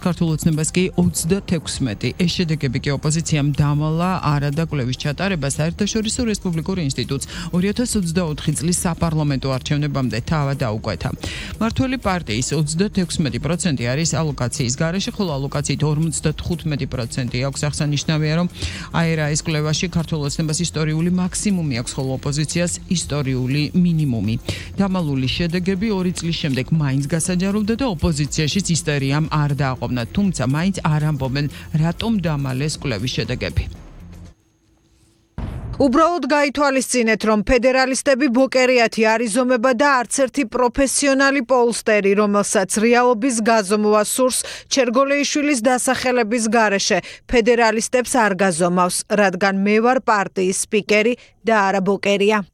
ქართულ ოცნებას კი 36. ეს შედეგები კი ოპოზიციამ დამალა არადა კვლევის ჩატარებას საერთაშორისო რესპუბლიკურ ინსტიტუტს 2024 წლის საპარლამენტო არჩევნებამდე თავად დაუკვეთა. მართველი პარტიის 36% არის ალოკაციის გარეშე, ხოლო ალოკაციით 55% აქვს. აღსანიშნავია, რომ აერაის კვლევაში ქართულ ოცნებას ისტორიული მაქსიმუმი აქვს, ხოლო ოპოზიციას ისტორიული მინიმუმი. დამალული შედეგები 2 წლის შემდეგ მაინც გასაჯაროვდა და ოპოზიციაშიც ისტორიამ არ დააყო. თუმცა მაინც არ ამბობენ რატომ დამალეს კვლევის შედეგები. უბრალოდ გაითვალისწინეთ, რომ ფედერალისტები ბოკერიათი არ იზომება და არც ერთი პროფესიონალი პოლსტერი, რომელსაც რეალობის გაზომვა სურს ჩერგოლეიშვილის დასახელების გარეშე, ფედერალისტებს არ გაზომავს, რადგან მე ვარ პარტიის სპიკერი და არა ბოკერია.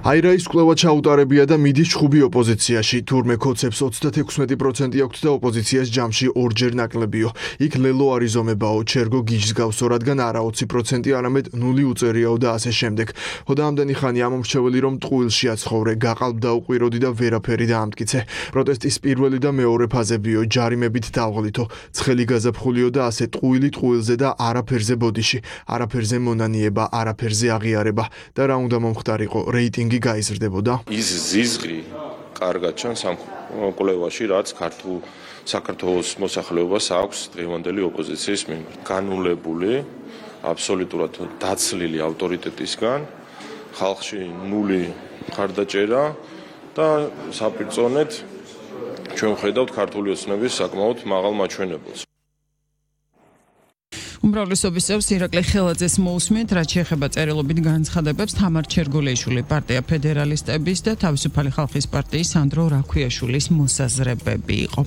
აირაის კვლევა ჩაუტარებია და მიდის ჩხუბი ოპოზიციაში. თურმე კოცებს 36% აქვთ და ოპოზიციას ჯამში ორჯერ ნაკლებიო. იქ ლელო არ იზომებაო, ჩერგო გიჟს გავსო, რადგან არა 20%, არამედ 0 უწერიაო და ასე შემდეგ. ხოდა ამდენი ხანი ამომრჩეველი რომ ტყუილში აცხოვრე, გაყალბ დაუყვიროდი და ვერაფერი დაამტკიცე. პროტესტის პირველი და მეორე ფაზებიო, ჯარიმებით დავღლითო, ცხელი გაზაფხულიო და ასე ტყუილი ტყუილზე და არაფერზე ბოდიში, არაფერზე მონანიება, არაფერზე აღიარება და რა უნდა მომხდარიყო, რეიტინგი გაიზრდებოდა. ის ზიზღი კარგად ჩანს ამ კვლევაში, რაც ქართულ საქართველოს მოსახლეობას აქვს დღევანდელი ოპოზიციის მიმართ. განულებული, აბსოლუტურად დაცლილი ავტორიტეტისგან, ხალხში 0 მხარდაჭერა და საპირწონედ ჩვენ ვხედავთ ქართული ოცნების საკმაოდ მაღალ მაჩვენებელს. უმრავლესობის წევს ირაკლი ხელაძეს მოусმენთ, რაც შეეხება წერილობით განცხადებებს თამარ ჩერგოლეიშვილი პარტია ფედერალისტების და თავისუფალი ხალხის პარტიის სანდრო რაქვიაშვილის მოსაზრებები იყო.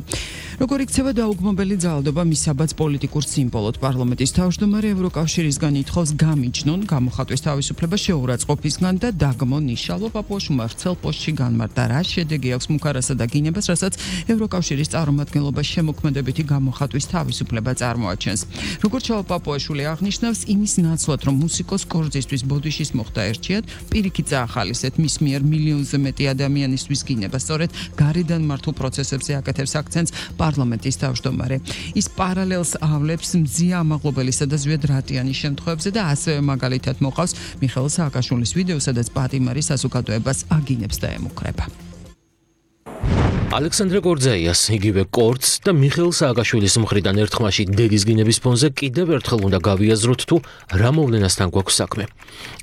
როგორ იქცევა დაუგმობელი ძალადობა მისაბაც პოლიტიკურ სიმბოლოდ, პარლამენტის თავმჯდომარე ევროკავშირისგან ითხოვს გამიჯნონ გამოხატვის თავისუფლება შეურაცხყოფისგან და დაგმონ ნიშალვა პაპუაშვილმა ვრცელ პოსტში განმარტა, რა შედეგი აქვს მუქარასა და გინებას, რასაც ევროკავშირის წარმომადგენლობა შემოქმედებითი გამოხატვის თავისუფლება წარმოაჩენს. როგორც პაპუაშვილი აღნიშნავს იმის ნაცვლად, რომ მუსიკოს კორძისთვის ბოდიშის მოხდა ერჩიათ, პირიქით წაახალისეთ მის მიერ მილიონზე მეტი ადამიანისთვის გინება. სწორედ გარედან მართულ პროცესებზე აკეთებს აქცენტს პარლამენტის თავმჯდომარე. ის პარალელს ავლებს მძია ამაღლობელისა და ზვიად რატიანის შემთხვევებზე და ასევე მაგალითად მოყავს მიხეილ სააკაშვილის ვიდეო, სადაც პატიმარი საზოგადოებას აგინებს და ემუქრება. ალექსანდრე კორძაიას, იგივე კორცს და მიხეილ სააკაშვილის მხრიდან ერთხმაში დედის გინების ფონზე კიდევ ერთხელ უნდა გავიაზროთ თუ რა მოვლენასთან გვაქვს საქმე.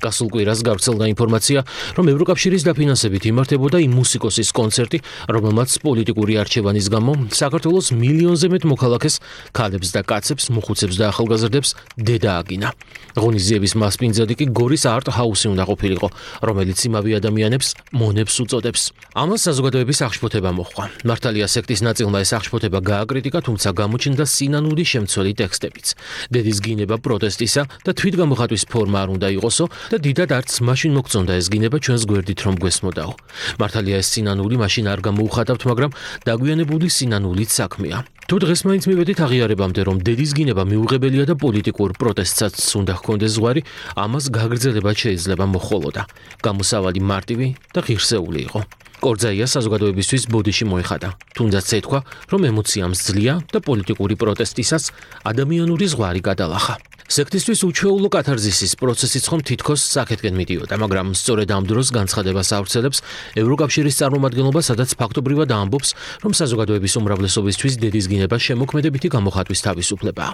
გასულ კვირას გავრცელდა ინფორმაცია, რომ ევროკავშირის დაფინანსებით იმართებოდა იმ მუსიკოსის კონცერტი, რომელმაც პოლიტიკური არჩევანის გამო საქართველოს მილიონზე მეტ მოქალაქეს, ქალებს და კაცებს, მოხუცებს და ახალგაზრდებს დედა აგინა. ღონისძიების მასპინძელი კი გორის არტ ჰაუსი უნდა ყოფილიყო, რომელიც იმავე ადამიანებს მონებს უწოდებს. ამას საზოგადოების აღშფოთება მოჰყვა. მართალია სექტის ნაწილმა ეს აღშფოთება გააკრიტიკა, თუმცა გამოჩნდა სინანული შემცველი ტექსტებიც. დედის გინება პროტესტისა და თვითგამოხატვის ფორმა არ უნდა იყოსო და დიდად არც მაშინ მოგწონდა ეს გინება ჩვენს გვერდით რომ გვესმოდაო. მართალია ეს სინანული მაშინ არ გამოუხატავთ, მაგრამ დაგვიანებული სინანულით საქმეა. თუ დღეს მაინც მივედით აღიარებამდე, რომ დედის გინება მიუღებელია და პოლიტიკურ პროტესტსაც უნდა ჰქონდეს ზღვარი, ამას გაგრძელება შეიძლება მოჰყოლოდა. გამოსავალი მარტივი და ღირსეული იყო. კორძაია საზოგადოებისთვის ბოდიში მოეხადა. თუნდაც ეთქვა, რომ ემოციამ ძლია და პოლიტიკური პროტესტისას ადამიანური ზღვარი გადალახა. სექტისთვის უჩვეულო კათარზისის პროცესიც ხომ თითქოს საკეთკენ მიდიოდა, მაგრამ სწორედ ამ დროს განცხადებას ავრცელებს ევროკავშირის წარმომადგენლობა, სადაც ფაქტობრივად ამბობს, რომ საზოგადოების უმრავლესობისთვის დედის გინება შემოქმედებითი გამოხატვის თავისუფლებაა.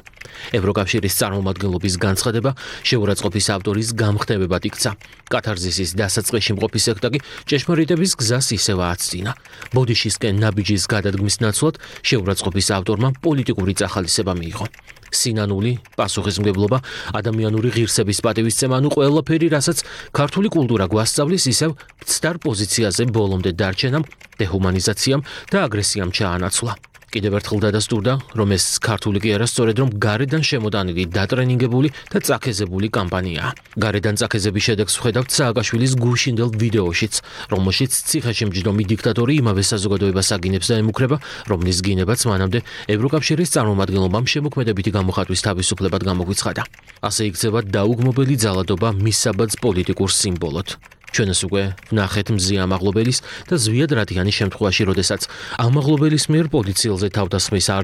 ევროკავშირის წარმომადგენლობის განცხადება შეურაცხყოფის ავტორის გამხნევებად იქცა. კათარზისის დასაწყისში მყოფი სექტა კი ჭეშმარიტების გზას ისევ ააცდინა. ბოდიშისკენ ნაბიჯის გადადგმის ნაცვლად შეურაცხყოფის ავტორმა პოლიტიკური წახალისება მიიღო. სინანული, პასუხისმგებლობა, ადამიანური ღირსების პატივისცემა, ანუ ყველაფერი, რასაც ქართული კულტურა გვასწავლის, ისევ მცდარ პოზიციაზე ბოლომდე დარჩენამ, დეჰუმანიზაციამ და აგრესიამ ჩაანაცვლა. კიდევ ერთხელ დადასტურდა, რომ ეს ქართული კი არა, სწორედ რომ გარედან შემოდანილი, დატრენინგებული და წაქეზებული კამპანიაა. გარედან წაქეზების შედეგს ვხედავთ სააკაშვილის გუშინდელ ვიდეოშიც, რომელშიც ციხეში მჯდომი დიქტატორი იმავე საზოგადოებას აგინებს და ემუქრება, რომლის გინებაც მანამდე ევროკავშირის წარმომადგენლობამ შემოქმედებითი გამოხატვის თავისუფლებად გამოგვიცხადა. ასე იქცევა დაუგმობელი ძალადობა მისაბაძ პოლიტიკურ სიმბოლოდ. ჩვენს უკვე ვნახეთ მზია ამაღლობელის და ზვიად რადიანის შემთხვევაში, როდესაც ამაღლობელის მიერ პოლიციელზე თავდასხმის არ